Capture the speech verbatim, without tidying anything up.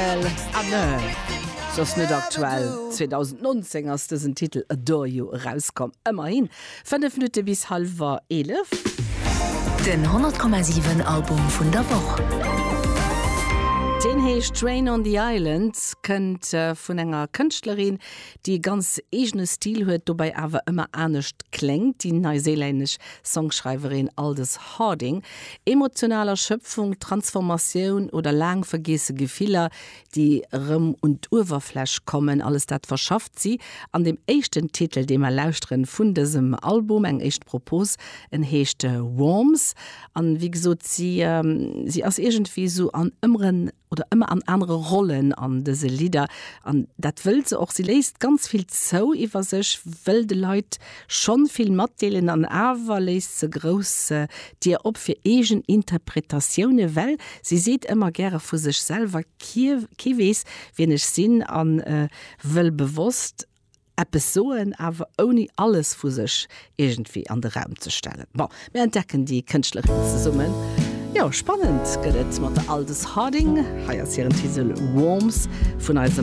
Ah nee, soss net aktuell. zweedausendnonzéng ass dësen Titel Adore You erauskomm. Ëmmerhin. Fënnef Minutte bis hallwer eelef. Den honnert Komma siwen Album vun der Woch. Deen heescht Train on the Island, kënnt vun enger Kënschtlerin, déi e ganz eegene Stil huet, dobäi awer ëmmer anescht kléngt, déi neiséilännesch Songschreiwerin Aldous Harding. Emotional Erschöpfung, Transformatioun oder laang vergiesse Gefiller, déi erëm un d'Uewerfläch kommen, alles dat verschafft si an deem éischten Titel, dee mer lauschteren vun dësem Album, eng éischt Propos, en heescht Worms. An wéi gesot, si si ass iergendwéi esou an ëmmer oder ëmmer an anere Rollen an dëse Lidder an dat wëll se och. Si léisst ganz vill zou iwwer sech, wëll de Leit schonn vill matdeelen an awer léisst se grouss Dier op fir eegen Interpretatioune, well si seet ëmmer gäre vu sech selwer, Kee kee weess, wien ech sinn an wëll bewosst eppes soen, awer ouni alles vu sech iergendwéi an de Raum ze stellen. Bon, mir entdecken déi Kënschtlerin zesummen. Jo, spannend gëtt et mat der Aldous Harding. Hei ass hiren Titel Worms vun eisem.